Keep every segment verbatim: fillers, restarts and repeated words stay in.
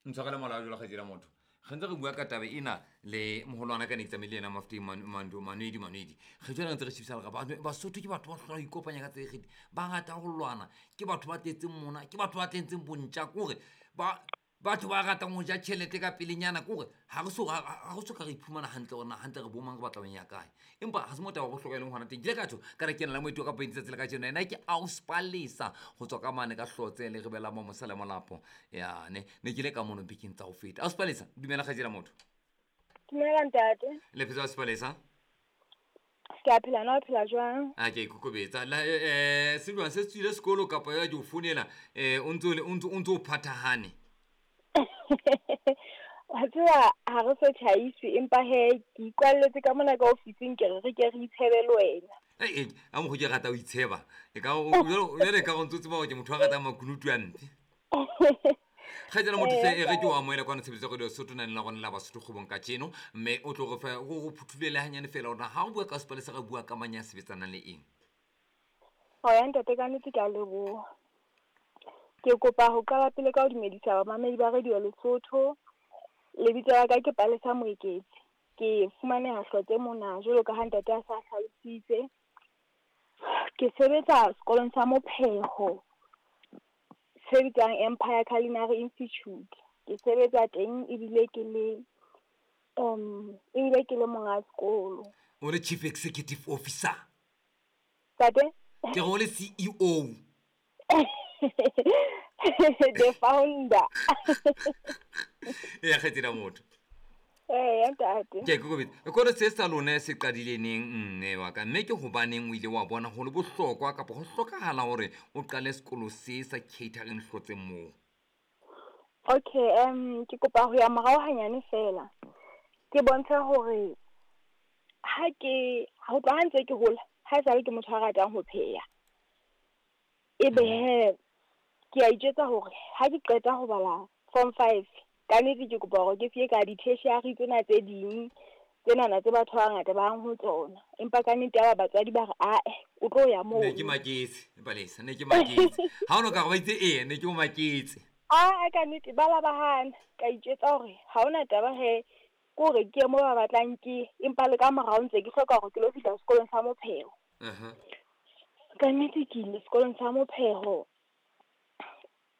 Ntshwarele molao jwalo kgaitsedi ya motho. Re ntse re bua ka taba ena le moholwana ka ne ke tsamaile le yena Mafeteng Manwedi Manwedi. Re jwale re ntse re shebisana re Basotho ke batho ba hlola ho ikopanya ka tsela e kgethehileng. Ba rata ho lwana, ke batho ba tletseng mona, ke batho ba tletseng bontja kore ba batho ba ratang ho ja tjhelete ka pelenyana kore ha re so ha re so ka re iphumana hantle hore na hantle re bo mang re batla ho ya kae. Empa ha se mo taba ya bohlokwa e leng hona teng. Ke ile ka tjho ka re ke na le moeti wa ka point tsatsi la kajeno. Yena ke Auspalesa ho tswa ka mane ka Hlotse le rebela mo Mosala Molapo. Yane ne ke ile ka mono bekeng tsa ho feta. Auspalesa dumela kgaitsedi ya motho. Dumela ntate. Le phetse Auspalesa? Ke a phela, na o phela jwang? A ke ikokobetsa. La eh se jwang se tswile sekolo kapa ya ke o founela eh o ntso o ntso o ntso o phathahane? Wa tseba ha re so tjhaise empa he ke ikwalletse ka mona ka ofising ke re re ke re itshebe le wena. Eh a mo go ke rata o itsheba. E ka o jwale ka go ntse tseba hore ke motho a ratang makunutu a ntle. Kgaitsedi motho hle e re ke o amohele kwana tshebeletso ya Radio Sesotho nane la rona la Basotho kgwebong kajeno mme o tlo re fa go go phuthulele hanyane fela hore ha o bua ka Sepalesa re bua ka mang ya sebetsanang le eng. Oya ntate ka nnete ke a leboha. Ke kopa ho qala pele ka ho dumedisa bamamedi ba Radio Lesotho. Lebitso la ka ke Palesa Moeketsi. Ke fumaneha Hlotse mona jwalo ka ha ntate a sa hlalositse. Ke sebetsa sekolong sa Mopheho se bitswang Empire Culinary Institute. Ke sebetsa teng ebile ke le um ebile ke le monga sekolo. O le Chief Executive Officer? Ntate? Ke re o le C E O. The founder. E kgetsela motho. Eh ntate. Ke kokobetsa. Sekolo se sa lona se qadile neng mme wa ka mme ke hobaneng o ile wa bona ho le bohlokwa kapa ho hlokahala hore o qale sekolo se sa catering Hlotse moo? Okay, um ke kopa ho ya morao hanyane fela. Ke bontshe hore ha ke ha tloha ha ntse ke hola, ha esale ke motho a ratang ho pheha. Ebe he ke a itjwetsa hore ha ke qeta ho bala form five ka nnete ke kopa hore ke fiye ka di-tertiary tsena tse ding tsenana tse batho ba bangata ba yang ho tsona. Empa ka nnete ya ba batswadi ba re ae o tlo ya moo. Ne ke maketse Palesa, ne ke maketse. Ha ono ka re ba itse ee ne ke o maketse. A ka nnete ba la ba hana. Ka itjwetsa hore ha hona taba he ke hore ke ye moo ba batlang ke empa le ka morao ntse ke hloka hore ke lo fihla sekolong sa Mopheho. Uh-huh. Ka nnete ke ile sekolong sa Mopheho.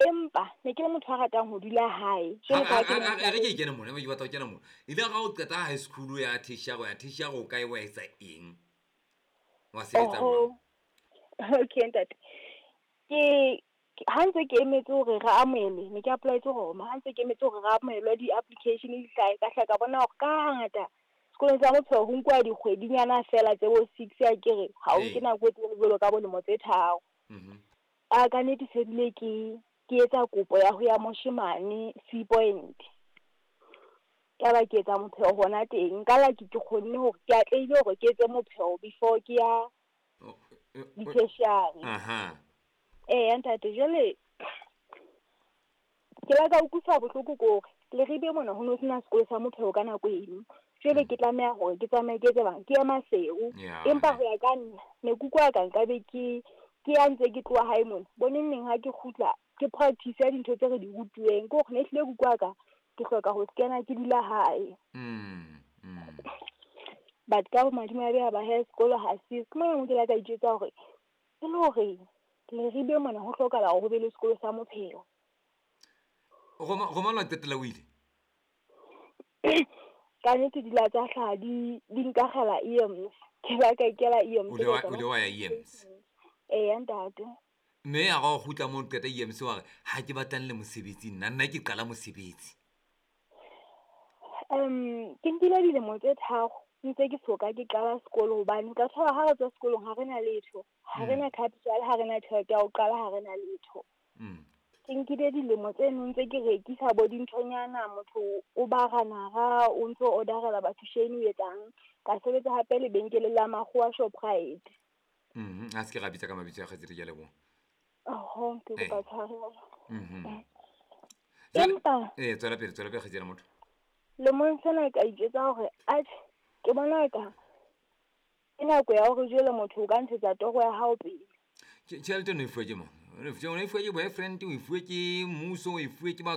Empa ne ke le motho a ratang ho dula hae. Jwalo ka ha ke le motho A re ke kene mona, ke batla ho kena mona. Ile ga o qeta high school ya tertiary, ya tertiary o kae wa etsa eng? Wa sebetsa jwang? Okay ntate. Ke ha ntse ke emetse hore re amohelwe, ne ke apply-etse Roma. Ha ntse ke emetse hore re amohelwe di-application di hlahe, ka hla ka bona hore ka hangata sekolong sa Mopheho ho nkuwa dikgwedinyana fela tse bo six a ke re ha o nke nako e telele jwalo ka bo lemo tse tharo. Mhm. A ka nnete se bile ke ke etsa kopo ya ho ya moshemane Sea Point. Ka ba ke etsa mopheho hona teng. Ka la ke ke kgonne hore ke atlehile hore ke etse mopheho before ke ya di-tertiary. Aha. Eh ntate jwale ke la ka utlwisa bohloko ke hore Leribe mona ho no sena sekolo sa mopheho ka nako eno. Jwale ke tlameha hore ke tsamaye ke etse bang ke ya Maseru. Empa ho ya ka nna ne ke utlwa ka nkabe ke ke ya ntse ke tloha hae mona. Boneng neng ha ke kgutla ke practice ya dintho tse re di rutuweng ke hore ne hlile ke utlwa ka ke hloka ho kena ke dula hae. Mm. Mm. But ka bomadimabe ha ba he sekolo ha se ke mona mo ke la ka itjwetsa hore e le hore Leribe mona ho hlokahala hore ho be le sekolo sa mopheho. Roma Roma la qetela o ile? Ka nnete di la tsa hlaha di di nkagela E M S. Ke la ka ikela E M S. O ile wa o ile wa ya E M S. Eh ntate. Mme a go kgutla mo qeta E M S wa re ha ke batlang le mosebetsi nna nna ke qala mosebetsi. Um ke nkile dilemo tse tharo ntse ke soka ke qala sekolo hobane ka thola ha re tswa sekolong ha re na letho. Ha re na capital, ha re na tjhelete ya ho qala, ha re na letho. Mm. Ke nkile dilemo tse nong tse ke rekisa bo dinthonyana, motho o ba ranara, o ntso orderela batho shane o etsang. Ka sebetsa hape lebenkeleng la Makgowa Shoprite. Mhm, a se ke ra bitsa ka mabitso a kgaitsedi, ke a leboha. Oho, ke kopa tshwarelo. Mhm. Empa Eh, tswela pele, tswela pele kgaitsedi motho. Lemong sena ka itjwetsa hore atjhe, ke bona ka ke nako ya hore jwale motho o ka ntshetsa toro ya hao pele. Tjhelete o ne e fuwe ke mang? O ne e fuwe ke boyfriend, o e fuwe ke mmuso, o e fuwe ke batho